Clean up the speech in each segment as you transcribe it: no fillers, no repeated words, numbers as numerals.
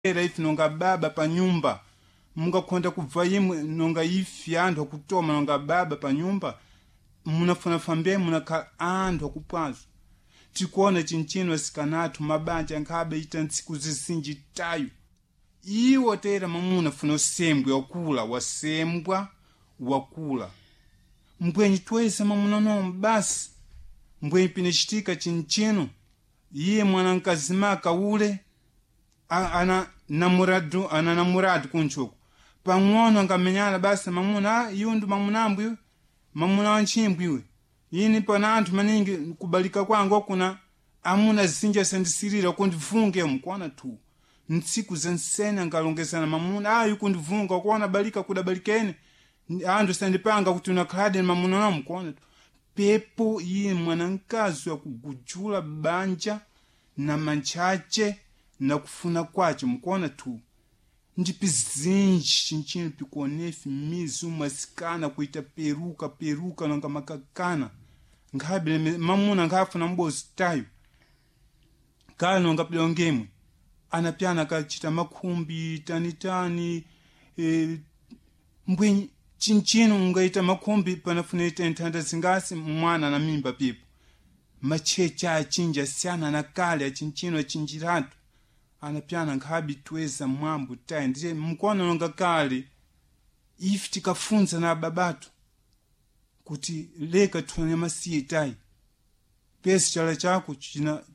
Era ife nonga baba pa nyumba mungakhonda kubva imwe nonga ife anthu akutoma nonga baba pa nyumba munafunafa mbe munakhala anthu akupwazo. Tikuona chinchino asikana athu mabanja ankhabe ita ntsiku zizinji tayo. Iwo tera mamuna funa usembwe wakula wasembwa wakula. Mbwenyi tweza mamuna nomo basi. Mbwenyi pinachitika chinchino iye mwana mkazimaka ule ana namuradu ana namuradu kunchuku pang'ono angamenyana basi mamuna iwo ndi mamunambu iwe mamuna wa ntchimbwi iwe ini pana anthu maningi kubalika kwangu akuna amuna zinja sandisirira kundivunge mkuona tu ntsiku zensene angalongezana mamuna ayi kundivunga kuona balika kudabalikene anthu sandipanga kuti unakhalade mamuna nawo mkuona tu pepo iye mwanamkazi wakugujula banja na mantchache na kufuna kwace mukuona tu ndipi zinji chinchino pikuonefi mizi umasikana kuita peruka peruka nonga makakana nkhabe mamuna nkhafuna mbozi tayo kale nonga pilongemwe anapyana akachita makhumbi tanitani mbwenyi chinchino ungaita makhumbi panafuna ita nthanda zingasi mwana na mimba pipo machecha achinji asiyana na kale achinchino achinjiratu anapyana nkhabi tweza mwambo tayi ndiye mkono nonga kale ife tikafunza na babatu kuti leka tufanya masiye tayi pesi chala chako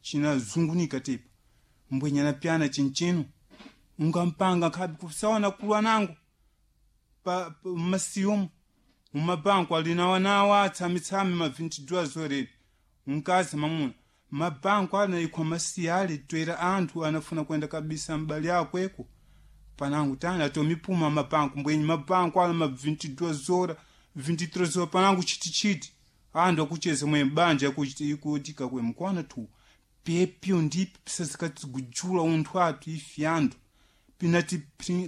chinazungunika china tepa mbwenye anapyana chinchino ungampanga nkhabi kusaona kulwa nango pa masiyomo mumabanko alinawanawa atsamitsami ma 22 zorere mkazi mamuna mabanko anaikwa masiya ali twera anthu anafuna kwenda kabisa mbali akweko panangu tani atomipuma mabanko mbwenyi mabanko ala ma 22 zora 23 zora panangu chitichiti anthu akucheza mwe banja ikutika kwe mkwana tu pepyo ndipi pisazikatsigujula unthu athu ife anthu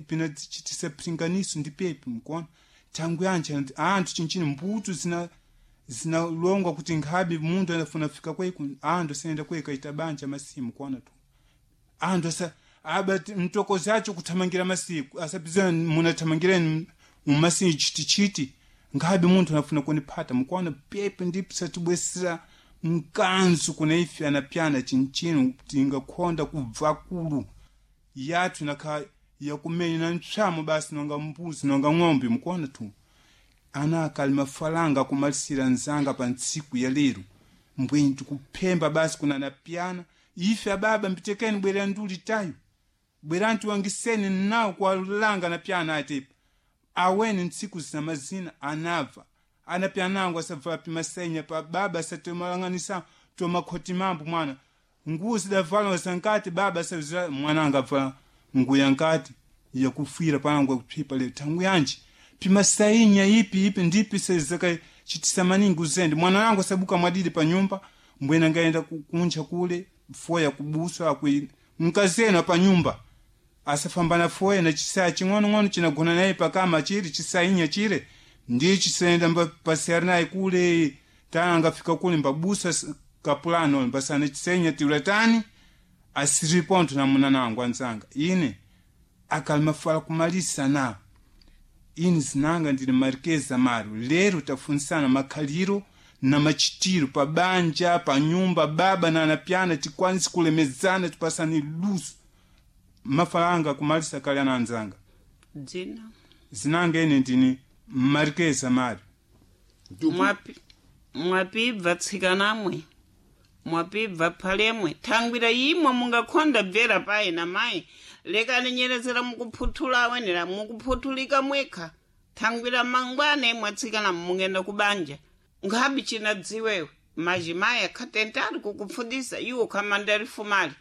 pinatichitisa pringaniso ndi pepi mkuona tangu yanji anthu chinchini mbuto zina zinalongwa kuti nkhabe munthu anafuna fika kweku anthu asayenda kweka ita banja masimu kuona tu anthu asa aba mtokozi acho kuthamangira masiku asapizana munathamangireni mumasiku chitichiti nkhabe munthu anafuna kuniphata mukuona pepe ndipo satibwesera mkanzu kuna ife anapyana chinchino tingakhonda kubva kulu yathu nakha yakumenya na ntchamo basi nonga mbuzi nonga ng'ombe mukuona tu ana akali mafalanga akumalisira nzanga pa ntsiku ya lero mbwenyi tikuphemba basi kuna anapyana ife ababa mpitekeni bwerera nduli tayo bwerani tiwangiseni nawo kuwalanga anapyana atepa aweni ntsiku zina mazina anabva anapyana angu asabva pimasenya pa baba asatomalang'anisa tomakhoti mambo mwana nguwo zidavala zankati baba asazira mwana angavala nguwo yankati yakufira panangu yakuphipa lero thangu yanji pimasainya ipi ipi ndipi sezakachitisa maningi uzende mwana wangu asabuka mwadidi pa nyumba mbwena ngaenda kunja kule foya kubuswa akwi mkazena pa nyumba asafambana foya na chisaya ching'onong'ono chinagona naye pakama chiri chisainya chire ndiye chisayenda pasiyari naye kule tana angafika kule mbabusa kapulano mbasana chisainya tiula tani asiripontho na muna nangu anzanga ine akalimafala kumalisa na ini zinanga ndili marikeza maro lero tafunisana makhaliro na machitiro pa banja pa nyumba baba na anapyana tikwanisi kulemezana tipasani luso mafalanga kumalisa kale ana anzanga dzina zinanga ine ndini marikeza maro. Mwapibva tsikanamwe mwapibva phalemwe thangwira imwe mungakhonda bvera payi na mayi lekani nyerezera mukuphuthula awenera mukuphuthulika mwekha thangwira mangwana imwe atsikana mungenda kubanja nkhabi chinadziwewe majimayi akhatentali kukupfundisa iwo khamandali fumali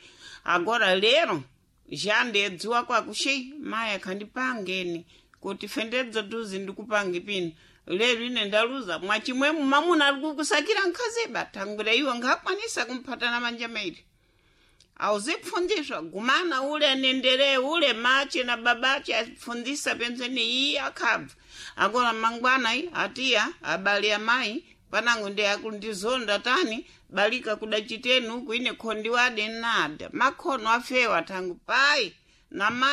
agora lero jandedziwa kwakuxi mayi akhandipangeni kuti fendedzo tuzi ndikupange pino lero ine ndaluza mwachimwemu mamuna ari kukusakira nkhazeba thangwira iwe nkhakwanisa kumphatana manja mairi awuzipfundiswa gumana ule anenderee ule mache na babache afundisa penzeni iyi akhabva akona mangwana iyi atiya abali amayi panango ndi akundizonda tani balika kudachiteni uku ine khondi wade nada makhono afewa thangu payi. Na mai.